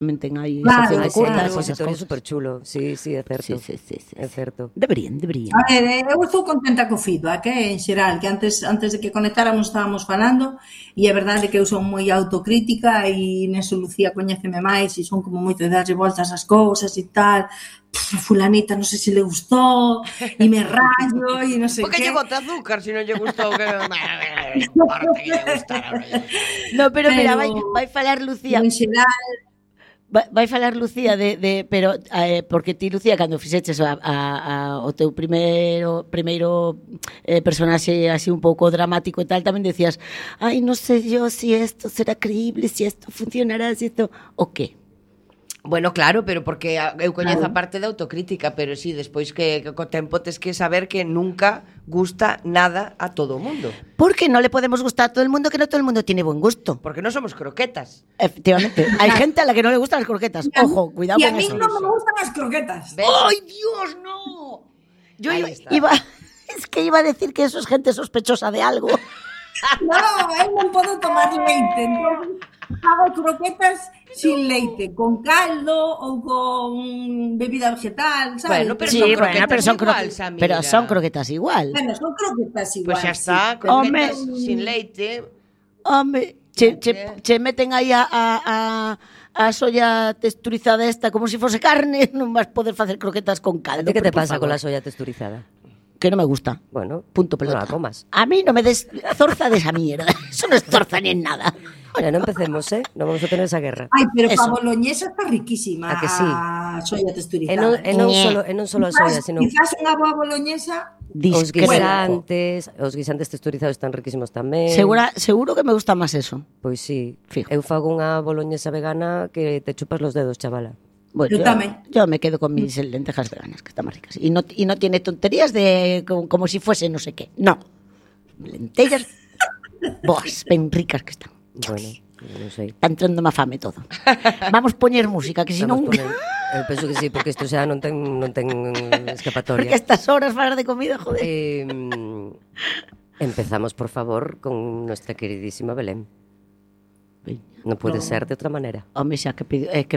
tamén ten aí Claro, sección de sí, curtas, claro, esas Consistorio cousas. super chulo. Sí, é certo. Sí. É certo. Deberían. A ver, eu estou contenta co feedback, en xeral, que antes de que conectáramos estábamos falando, e é verdade que eu son moi autocrítica e neso Lucía coñéceme máis e son como moito de darlle voltas ás cousas e tal. Fulanita non sei se le gustou e me rayo e non sei Porque que. lle bota azúcar se non lle gustou que non importa que lle gustara. No, pero mira, vai falar Lucía. En xeral, Vai falar Lucía pero porque ti, Lucía, cando fixeches o teu primeiro personaxe así un pouco dramático e tal, tamén decías, ai, non sei yo si esto será creíble, si esto funcionará, si esto... O qué? Bueno, claro, pero porque eu coñezo a parte da autocrítica, pero sí, despois que co tempo tes que saber que nunca gusta nada a todo o mundo. Porque non le podemos gustar a todo el mundo, que no todo el mundo tiene buen gusto. Porque non somos croquetas. Efectivamente, hai gente a la que non le gustan las croquetas. Ojo, cuidado e a con mí eso. non me gustan as croquetas. ¿Ves? ¡Ay, Dios, no! Yo Ahí es que iba a decir que eso es gente sospechosa de algo. Non, eu non podo tomar leite, entón hago croquetas sin leite, con caldo ou con bebida vegetal, sabes? Bueno, pero Sí, son bueno, croquetas pero son igual, croquetas igual. Bueno, son croquetas igual. Pois xa está, sí. croquetas Home. sin leite. Home, che meten aí a soya texturizada esta como si fose carne, non vas poder facer croquetas con A caldo. ti que te por pasa favor. con la soya texturizada? Que non me gusta. Bueno, Punto no pelota. la comas. A mí no me des zorza de esa mierda. Eso no es zorza ni en nada. Mira, no empecemos, non vamos a tener esa guerra. Ai, pero Eso. pa boloñesa está riquísima. A que sí? A soya texturizada. E non solo a soya, sino Quizás unha boa boloñesa. os Discrepo. guisantes texturizados están riquísimos tamén. Seguro que me gusta más eso. Pois sí. Fijo. Eu fago unha boloñesa vegana que te chupas los dedos, chavala. Bueno, Yo también. Yo me quedo con mis lentejas veganas, que están más ricas. Y no tiene tonterías de como si fuese no sé qué. No. Lentellas, boas, ben ricas que están. Bueno, non sei. Está entrando má fame todo. Vamos poñer música, que si non... Eu penso que sí, porque isto xa non ten Porque escapatoria. estas horas falar de comida, joder. Empezamos, por favor, con nuestra queridísima Belén. Non pode ser de outra maneira. Home, xa que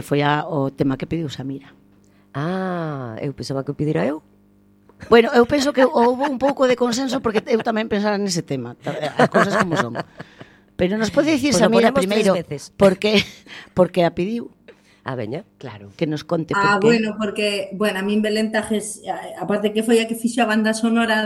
foi o tema que pediu Samira. Eu pensaba que o pedira eu. Bueno, eu penso que houve un pouco de consenso porque eu tamén pensara nese tema, as cousas como son. Pero nos pode dicir Pues Samira ponemos primeiro 3 veces. porque a pediu Veña. Claro. que nos conte por qué. Bueno, porque, a min Belén Tajes, aparte que foi a que fixo a banda sonora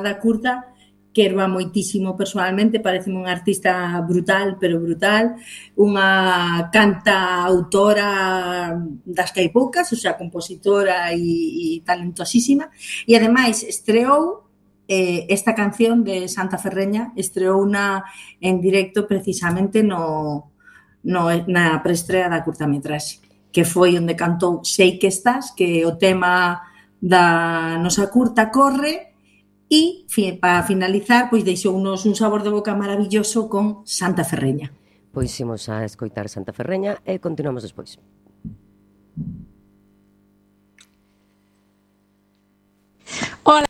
da curta, que erva moitísimo personalmente, pareceme unha artista brutal, pero brutal, unha cantautora das que hai poucas, o sea, compositora e talentosísima, e ademais estreou esta canción de Santa Ferreña, estreouna en directo precisamente na preestrea da curtametraxe, que foi onde cantou Sei que estás, que é o tema da nosa curta Corre. E, para finalizar, pois deixounos un sabor de boca maravilloso con Santa Ferreña. Pois imos a escoitar Santa Ferreña e continuamos despois. Hola.